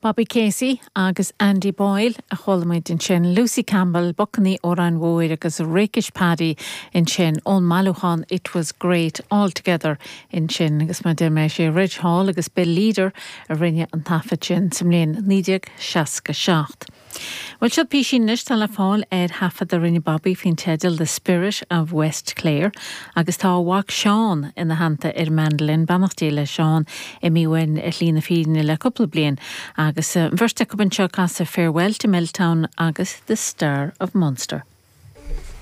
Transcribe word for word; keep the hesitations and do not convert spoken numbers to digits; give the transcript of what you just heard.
Bobby Casey agus Andy Boyle a chuala muid ansin Lucy Campbell, Bacainní Óráin Mhóir agus Rakish Paddy ansin ón mbailiúchán It Was Great Altogether ansin agus mar mé sé Reg Hall agus Bill Leader a rinne an taifead sin sa mbliain naoi déag seasca seacht. Well seo písín anois tá le fáil ar thaifead a rinne Bobby faoin teideal The Spirit of West Clare agus tá a mhac Seán ina theannta ar mandolin beannacht Dé le Seán imithe uainn ar shlí na fírinne le cúpla bliain agus an bheirt acu anseo ag casadh Farewell to Milltown agus The Star of Munster.